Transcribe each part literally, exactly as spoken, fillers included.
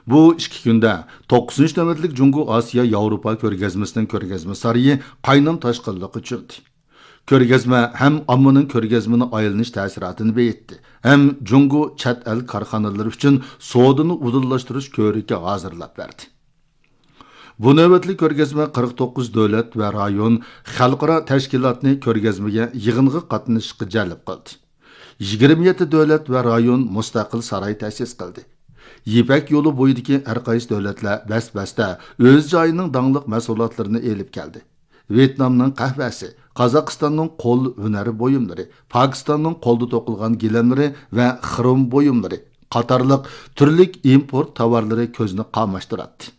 بۇ ئىككى كۈندە توققۇزىنچى نۆۋەتلىك جۇڭگو ئاسىيا ياۋروپا كۆرگەزمىسىنىڭ كۆرگەزمە سارىيى قاينام تاشقىنلىققا چۆمدى. كۆرگەزمە ھەم ئاممىنىڭ كۆرگەزمىنى ئايلىنىش تەسىراتىنى بېيىتتى، ھەم جۇڭگو چەت ئەل كارخانىلىرى ئۈچۈن سودىنى ئۇدۇللاشتۇرۇش كۆرىكى ھازىرلاپ بەردى. بۇ نۆۋەتلىك كۆرگەزمە قىرىق توققۇز دۆلەت ۋە رايون، خەلقئارا تەشكىلاتنى كۆرگەزمىگە، يىغىنغا قاتنىشىشقا جەلپ قىلدى. يىگىرمە يەتتە دۆلەت ۋە رايون مۇستەقىل ساراي تەسىس قىلدى. يىپەك يولى بويىدىكى ھەر قايسى دۆلەتلەر بەس-بەستە ئۆز جايىنىڭ داڭلىق مەھسۇلاتلىرىنى ئېلىپ كەلدى. ۋيېتنامنىڭ قەھۋەسى، قازاقىستاننىڭ قول ھۈنەر بۇيۇملىرى، پاكىستاننىڭ قولدا توقۇلغان گىلەملىرى ۋە خروم بۇيۇملىرى قاتارلىق تۈرلۈك ئىمپورت تاۋارلىرى كۆزنى قاماشتۇراتتى.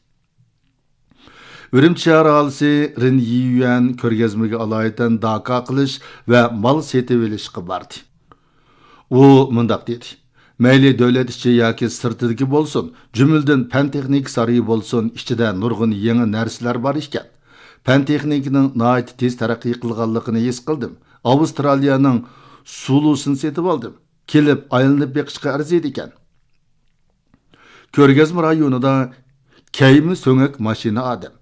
ئۈرۈمچى شەھەر ئاھالىسى رىن يىيۈەن كۆرگەزمىگە ئالايىتەن داكا قىلىش ۋە مال سېتىۋېلىشقا باردى. ئۇ مۇنداق دېدى، مەيلى دۆلەت ئىچى ياكى سىرتىدىكى بولسۇن، جۈملىدىن پەن تېخنىكا سارىيى بولسۇن، ئىچىدە نۇرغۇن يېڭى نەرسىلەر بار ئىكەن. پەن تېخنىكىنىڭ ناھايىتى تېز تەرەققىي قىلغانلىقىنى ھېس قىلدىم. ئاۋسترالىيەنىڭ سۇلۇسىنى سېتىۋالدىم. كېلىپ ئايلىنىپ بېقىشقا ئەرزىيدىكەن. كۆرگەزمە رايونىدا كەيمە سۆڭەك ماشىنا ئادەم،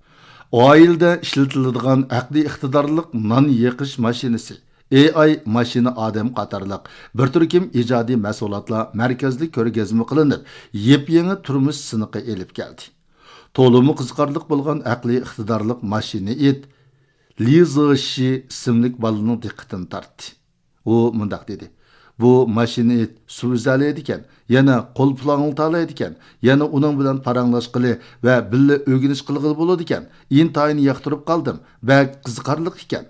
ئائىلىدە ئىشلىتىلىدىغان ئەقلىي ئىقتىدارلىق نان يېقىش ماشىنىسى، ئېي ئاي ماشىنا ئادەم قاتارلىق بىر تۈركۈم ئىجادىي مەھسۇلاتلار مەركەزلىك كۆرگەزمە قىلىنىپ، يېپيېڭى تۇرمۇش سىنىقى ئېلىپ كەلدى. تولىمۇ قىزىقارلىق بولغان ئەقلىي ئىقتىدارلىق ماشىنا ئىت لى زېشى ئىسىملىك بالىنىڭ دىققىتىنى تارتتى. ئۇ مۇنداق دېدى، بۇ ماشىنا ئىت سۇ ئۈزەلەيدىكەن، يەنە قول پۇلاڭلىتالايدىكەن، يەنە ئۇنىڭ بىلەن پاراڭلاشقىلى ۋە بىللە ئۆگىنىش قىلغىلى بولىدىكەن. ئىنتايىن ياقتۇرۇپ قالدىم، بەك قىزىقارلىق ئىكەن.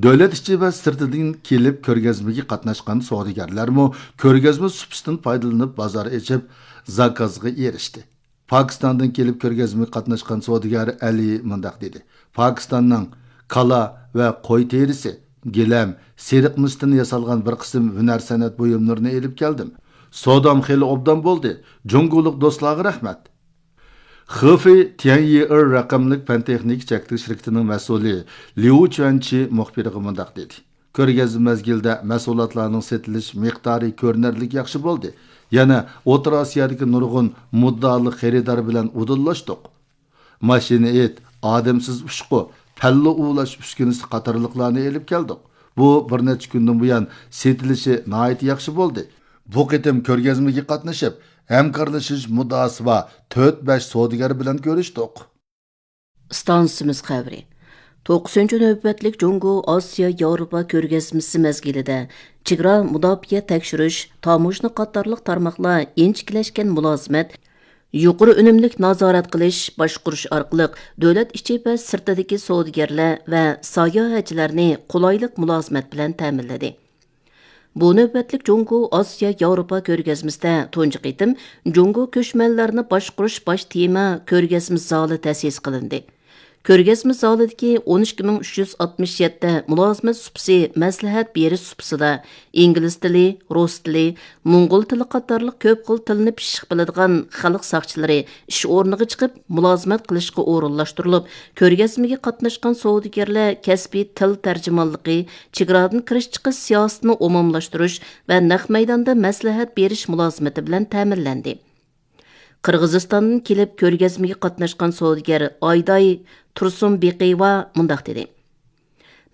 دۆلەت ئىچى ۋە سىرتىدىن كېلىپ كۆرگەزمىگە قاتناشقان سودىگەرلەرمۇ كۆرگەزمە سۇپىسىدىن پايدىلىنىپ بازار ئېچىپ، زاكازغا ئېرىشتى. پاكىستاندىن كېلىپ كۆرگەزمىگە قاتناشقان سودىگەر ئەلى مۇنداق دېدى، پاكىستاننىڭ كالا ۋە قوي تېرىسى، گىلەم، سېرىق مىستىن ياسالغان بىر قىسىم ھۈنەر سەنئەت بۇيۇملىرىنى ئېلىپ كەلدىم. سودام خېلى ئوبدان بولدى. جۇڭگولۇق دوستلارغا رەھمەت. خېفېي تيەنيىئېر رەقەملىك پەن تېخنىكا چەكلىك شىركىتىنىڭ مەسئۇلى ليۇ چۈەنچى مۇخبىرغا مۇنداق دېدى، كۆرگەزمە مەزگىلىدە مەھسۇلاتلارنىڭ سېتىلىش مىقدارى كۆرۈنەرلىك ياخشى بولدى. يەنە ئوتتۇرا ئاسىيادىكى نۇرغۇن مۇددىئالىق خېرىدار بىلەن ئۇدۇللاشتۇق. ماشىنا ئىت، ئادەمسىز ئۇچقۇ، پەللە ئۇۋۇلاش ئۈسكۈنىسى قاتارلىقلارنى ئېلىپ كەلدۇق. بۇ بىر نەچچە كۈندىن بۇيان سېتىلىشى ناھايىتى ياخشى بولدى. بۇ قېتىم كۆرگەزمىگە قاتنىشىپ، ھەمكارلىشىش مۇددىئاسى بار تۆت بەش سودىگەر بىلەن كۆرۈشتۇق. ئىستانسىمىز خەۋىرى. توققۇزىنچى نۆۋەتلىك جۇڭگو ئاسىيا ياۋروپا كۆرگەزمىسى مەزگىلىدە چېگرا مۇداپىئە تەكشۈرۈش، تاموژنا قاتارلىق تارماقلار ئىنچىكىلەشكەن مۇلازىمەت، يۇقىرى ئۈنۈملۈك نازارەت قىلىش، باشقۇرۇش ئارقىلىق دۆلەت ئىچى ۋە سىرتىدىكى سودىگەرلەر ۋە ساياھەتچىلەرنى قولايلىق مۇلازىمەت بىلەن تەمىنلىدى. بۇ نۆۋەتلىك جۇڭگو ئاسىيا ياۋروپا كۆرگەزمىسىدە تۇنجى قېتىم جۇڭگو كۆچمەنلەرنى باشقۇرۇش باش تېما كۆرگەزمە زالى تەسىس قىلىندى. كۆرگەزمە زالىدىكى ئون ئىككى مىڭ ئۈچ يۈز ئاتمىش يەتتە مۇلازىمەت سۇپىسى مەسلىھەت بېرىش سۇپىسىدا ئىنگلىز تىلى، رۇس تىلى، موڭغۇل تىلى قاتارلىق كۆپ خىل تىلنى پىششىق بىلىدىغان خەلق ساقچىلىرى ئىش ئورنىغا چىقىپ مۇلازىمەت قىلىشقا ئورۇنلاشتۇرۇلۇپ، كۆرگەزمىگە قاتناشقان سودىگەرلەر كەسپىي تىل تەرجىمانلىقى، چېگرادىن كىرىش چىقىش سىياسىتىنى ئومۇملاشتۇرۇش ۋە نەق مەيداندا مەسلىھەت بېرىش مۇلازىمىتى بىلەن تەمىنلەندى. قىرغىزىستاندىن كېلىپ كۆرگەزمىگە قاتناشقان سودىگەر ئايداي تۇرسۇنبېقىيېۋا مۇنداق دېدى،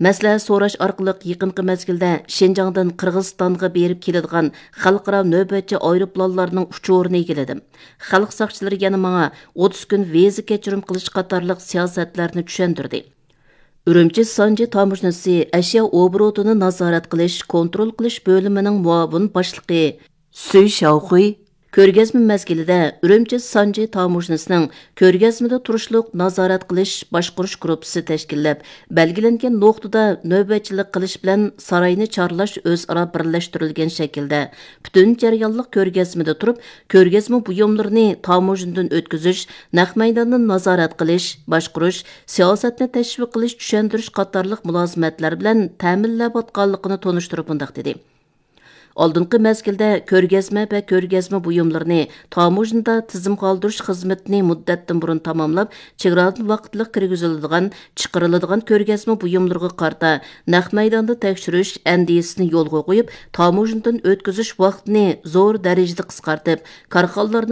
مەسلىھەت سوراش ئارقىلىق يېقىنقى مەزگىلدە شىنجاڭدىن قىرغىزىستانغا بېرىپ كېلىدىغان خەلقئارا نۆۋەتچى ئايروپىلانلارنىڭ ئۇچۇرىنى ئىگىلىدىم. خەلق ساقچىلىرى يەنە ماڭا ئوتتۇز كۈن ۋىزا كەچۈرۈم قىلىش قاتارلىق سىياسەتلەرنى چۈشەندۈردى. ئۈرۈمچى سانجى تاموژنىسى ئەشيا ئوبوروتىنى نازارەت قىلىش، كونترول قىلىش بۆلۈمىنىڭ مۇئاۋىن باشلىقى سۈي شياۋخۇي كۆرگەزمە مەزگىلىدە ئۈرۈمچى سانجى تاموژنىسىنىڭ كۆرگەزمىدە تۇرۇشلۇق نازارەت قىلىش باشقۇرۇش گۇرۇپپىسى تەشكىللەپ، بەلگىلەنگەن نۇقتىدا نۆۋەتچىلىك قىلىش بىلەن ساراينى چارلاش ئۆزئارا بىرلەشتۈرۈلگەن شەكىلدە پۈتۈن جەريانلىق كۆرگەزمىدە تۇرۇپ، كۆرگەزمە بۇيۇملىرىنى تاموژنىدىن ئۆتكۈزۈش، نەق مەيداندىن نازارەت قىلىش، باشقۇرۇش، سىياسەتنى تەشۋىق قىلىش، چۈشەندۈرۈش قاتارلىق مۇلازىمەتلەر بىلەن تەمىنلەۋاتقانلىقىنى تونۇشتۇرۇپ مۇنداق دېدى. ئالدىنقى مەزگىلدە كۆرگەزمە ۋە كۆرگەزمە بۇيۇملىرىنى تاموژنىدا تىزىمغا ئالدۇرۇش خىزمىتىنى مۇددەتتىن بۇرۇن تاماملاپ، چېگرادىن ۋاقىتلىق كىرگۈزۈلىدىغان، چىقىرىلىدىغان كۆرگەزمە بۇيۇملىرىغا قارىتا نەق مەيداندا تەكشۈرۈش ئەندىزىسىنى يولغا قويۇپ، تاموژنىدىن ئۆتكۈزۈش ۋاقتىنى زور دەرىجىدە قىسقارتىپ، كارخانىلارنىڭ